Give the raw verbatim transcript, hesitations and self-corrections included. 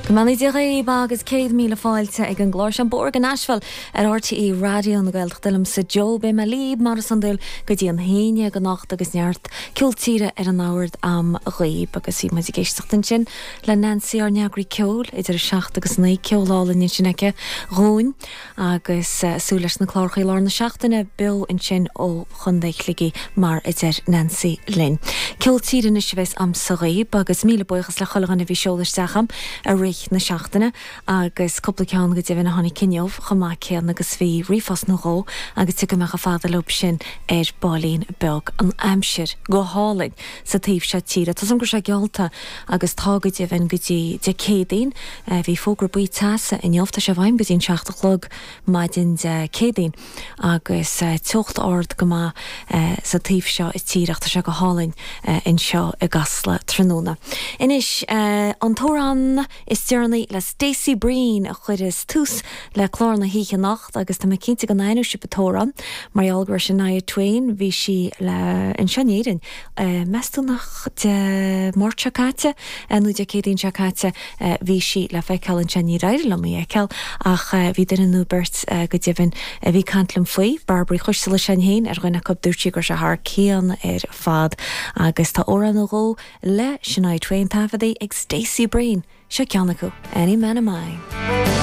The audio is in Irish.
Go mbeannaí Dia dhaoibh agus céad míle fáilte ag an gclár seo An Bóthar go Nashville ar RTÉ Raidió na Gaeltachta liomsa Joe beidh mé libh mar is iondúil go dtí an haon déag anocht agus neart ceol tíre ar an mbord agam dhaoibh agus bhí muid ag éisteacht ansin le Nancy ár n-eagraí ceoil idir a seacht agus naoi ceol álainn ansin aici dhúinn agus uh, súil leis na cláracha lár na seachtaine beo ansin ó Chontae Shligigh mar a deir Nancy linn. Ceol tíre anois a bheas agamsa dhaoibh agus míle buíochas le chuile dhuine a bhí ag seoladh isteach agam i rith na seachtaine agus cúpla ceann go deimhin a tháinig inniu chomh maith céanna agus bhí ríomhphost nó dhó agus tiocfaidh mé chomh fada leo sin ar baillín beag an aimsir go hálainn sa taobh seo tíre. Tá an go sé geallta agus tá go deimhin go dtí Dé Céadaoin bhí fógra buí teasa inniu tá sé i bhfeidhm go dtí an seacht a chlog maidin Dé Céadaoin agus teocht ard go maith sa taobh seo tíre tá sé go hálainn anseo i gCasla tráthnóna. Anois an t-amhrán is deireanaí le Stacey Breen a chuireas tús le clár na hoíche anocht agus tá mé cinnte go n-aithneoidh sibh an t-amhrán mar gheall gur Shania Twain bhí sí le anseo in Éirinn. Meas tú nach Dé Máirt seo caite nó Dé Céadaoin seo caite bhí sí le feiceáil anseo níor éirigh liom í a fheiceáil ach bhí duine nó beirt go deimhin a bhí ag caint liom faoi, Barbara Chuisle sin féin ar dhuine acu dúirt sí gur sé thar cionn ar fad agus tá amhrán nó dhó le Shania Twain taifeadta ag Stacey Breen. Seo ceann acu, Any Man of Mine.